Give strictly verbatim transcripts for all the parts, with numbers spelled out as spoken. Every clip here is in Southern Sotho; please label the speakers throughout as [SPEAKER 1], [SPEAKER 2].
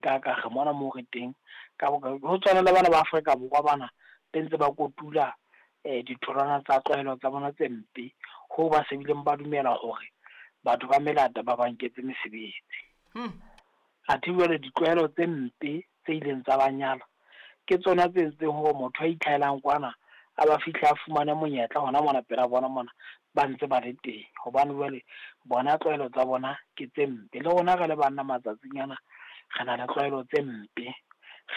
[SPEAKER 1] Ka ka re mona moo re teng ka ho tshwana le bana ba Afrika Borwa bana be ntse ba kotula eh ditholwana tsa tlwaelo tsa bona tse mpe, ho ba se bileng ba dumela hore batho ba melata ba ba nketse mesebetsi.
[SPEAKER 2] Hmm.
[SPEAKER 1] Athe jwale ditlwaelo tse mpe tse ileng tsa banyala ke tsona tse entseng hore motho a itlhahelang kwana a ba fihla a fumane monyetla hona mona pela bona mona ba ntse ba le teng, hobane jwale bona tlwaelo tsa bona ke tse mpe. Le rona re le banna matsatsing ana re na le tlwaelo tse mpe,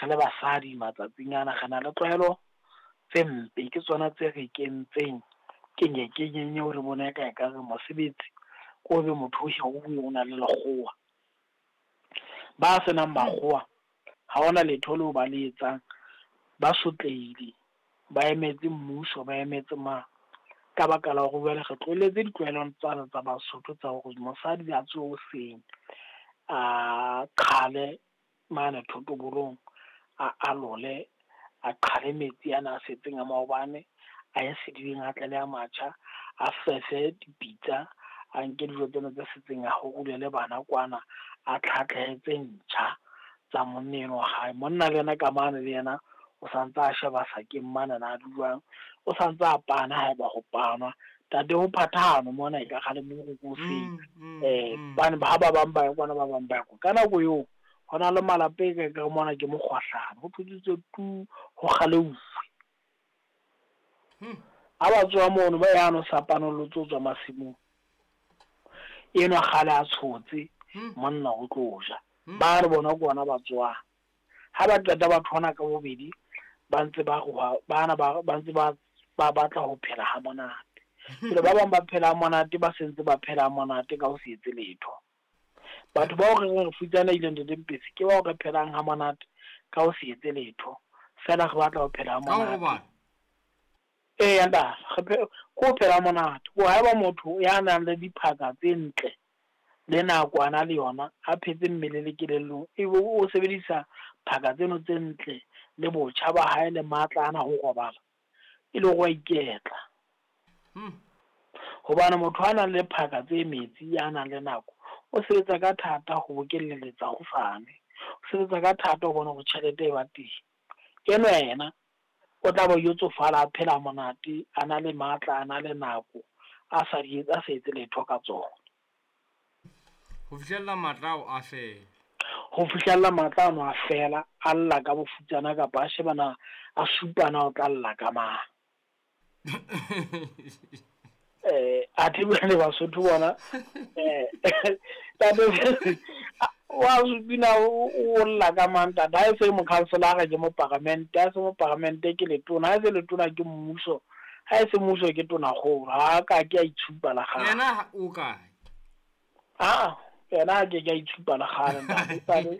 [SPEAKER 1] re le basadi matsatsing ana re na le tlwaelo tse mpe, ke tsona tse re kentseng kenye kenyeng eo re bona eka ekare mosebetsi ko be motho o hiruwe o na le lekgowa. Ba senang makgowa ha hona letho leo ba le etsang, ba sotlehile, ba emetse mmuso, ba emetse mang, ka baka la hore jwale re tlohelletse ditlwaelong tsane tsa Basotho tsa hore mosadi a tsohe hoseng, a qhale mane thotobolong, a alole, a qhale metsi ana a setseng a maobane, a ye sedibeng a tle le a matjha, a fefe dipitsa, a nke dijo tsena tse setseng a horolele bana kwana, a tlhatlhehe tse ntjha tsa monna enwa wa hae. Monna le yena ka mane le yena o santse a sheba sakeng mane na jwang, o santse a pana haeba ho panwa. Tate ho phathahane mona e ka kgale mo re ko hoseng.
[SPEAKER 2] Mm, mm,
[SPEAKER 1] Eh
[SPEAKER 2] mm.
[SPEAKER 1] bane ba ba bang ba ya kwana, ba bang ba ya kwa. Ka nako eo hona le malapa e ka ka mona ke mokgwahlano, ho thutswe tu ho kgaleuwe.
[SPEAKER 2] Hmm.
[SPEAKER 1] Ha ba tswa mono ba yano sa panolotse ho tswa masimong. Enwa kgale a tshotse
[SPEAKER 2] Hmm.
[SPEAKER 1] monna o tlo ja.
[SPEAKER 2] Hmm.
[SPEAKER 1] Ba re bona ke bona ba tswang. Ha ba qeta ba thona ka bobedi ba ntse ba roha, bana ba ba ntse ba ba batla ho phela ha monate. Jwale ba bang ba phela ha monate, ba sentse ba phela ha monate ka ho se etse letho. Batho bao re reng re futsanehile Ntate Mpetsi ke bao re phelang ha monate ka ho se etse letho. Feela re batla ho phela ha
[SPEAKER 2] Ka ho
[SPEAKER 1] monate.
[SPEAKER 2] robala.
[SPEAKER 1] Eya ntate, re phe- ko ho phela ha monate. Ko haeba motho ya nang le diphaka tse ntle le nako a na le yona, a phetse mmele le kelellong, ebe o sebedisa phaka tseno tse ntle le botjha ba hae le matla ana ho robala, e le hore wa iketla.
[SPEAKER 2] Hmm.
[SPEAKER 1] Hobane motho a nang le phaka tse metsi, ya nang le nako, o sebetsa ka thata ho bokelletsa hosane, o sebetsa ka thata ho bona hore tjhelete e ba teng. Enwa yena o tla ba yo tsofala a phela monate, a na le matla, a na le nako, a sa di a sa etse letho ka tsona.
[SPEAKER 2] Ho fihlella matla ao a fela.
[SPEAKER 1] Ho fihlella matla ano a fela, a lla ka bofutsana kapa a shebana, a supana o tla lla ka mang. Eh athe jwale Basotho bona eh tate wa supina o o lla ka mang ntate, ha e se mokhanselara ke moparamente, ha e se moparamente ke letona, ha e se letona ke mmuso, ha e se mmuso ke tonakgolo, ha ka ke a itshupa la kgale.
[SPEAKER 2] Yena o kae?
[SPEAKER 1] Ah, yena ha ke ke a itshupa la kgale ntate, esale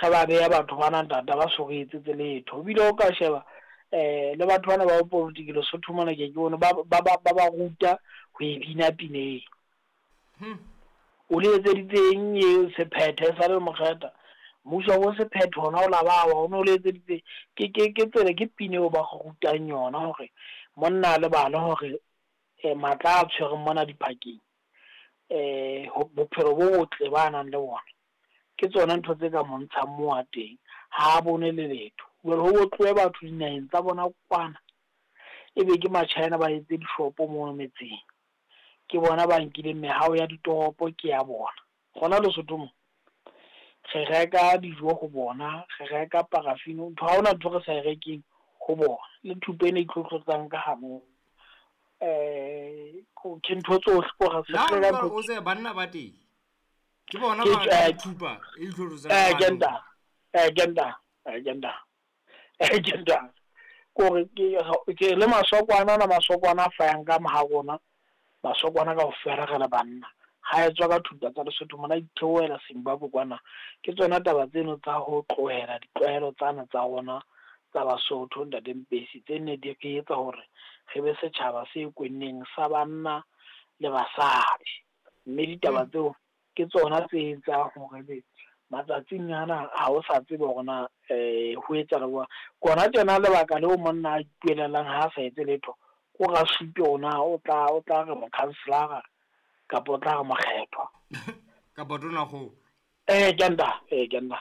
[SPEAKER 1] re ba beha batho bana ntate ba so re etsetse letho. Ebile o ka sheba eh le batho bana ba politiki Lesotho mona ke ke bone ba ba ba ba ruta ho e bina pineng.
[SPEAKER 2] Hmm.
[SPEAKER 1] O le etseditseng eo sephethe sa le mokgetha, mmuso wa sephethe hona o la bawa, o no le etseditse ke ke ke tsela ke pine eo ba go rutang yona hore monna a lebale hore eh matla a tshwereng mona diphakeng, eh bophelo bo botle ba nang le bona ke tsona ntho tse ka mo ntshang moo a teng, ha a bone le letho. Jwale ho tlohe batho dinaheng tsa bona kwana, ebe ke ma-China ba etse dishopo mono metseng, ke bona ba nkileng mehao ya ditoropo ke ya bona. Hona Lesotho mo re reka dijo ho bona, re reka paraffin, ntho ha hona ntho re sa e rekeng ho bona, le thupa ena e itlhotlhotsang ka hanong. Eh ke ntho tsohle ko re
[SPEAKER 2] La
[SPEAKER 1] se
[SPEAKER 2] o
[SPEAKER 1] reka
[SPEAKER 2] jwale
[SPEAKER 1] ntho
[SPEAKER 2] o se banna ba teng. Ke bona
[SPEAKER 1] Ke
[SPEAKER 2] ba rekang
[SPEAKER 1] eh,
[SPEAKER 2] thupa e itlhotlhotsang
[SPEAKER 1] eh,
[SPEAKER 2] ka
[SPEAKER 1] ke
[SPEAKER 2] hanong.
[SPEAKER 1] nta, eh, ke nta, eh, ke nta, eh, ke nta. Kore ke ke le masokwana ana, masokwana a fayang ka maha rona, masokwana kaofela re le banna. Ha etswa ka thupa tsa Lesotho mona itheohela Zimbabwe kwana. Ke tsona taba tseno tsa ho tlohela ditlwaelo tsana tsa rona tsa Basotho Ntate Mpesi, tse ne di re etsa hore re be setjhaba se kwenneng sa banna le basadi. Mme ditaba
[SPEAKER 2] Hmm.
[SPEAKER 1] tseo ke tsona tse etsang hore ebe matsatsing ana ha o sa tsebe hore na eh ho etsahala jwang. Kona tjena lebaka leo monna a ipuelelang ha a sa etse letho, ko ra supe hore na o tla o tla re mokhanselara kapa o tla re mokgethwa.
[SPEAKER 2] Kapa tonakgolo.
[SPEAKER 1] Eh ke nta, eh ke nta.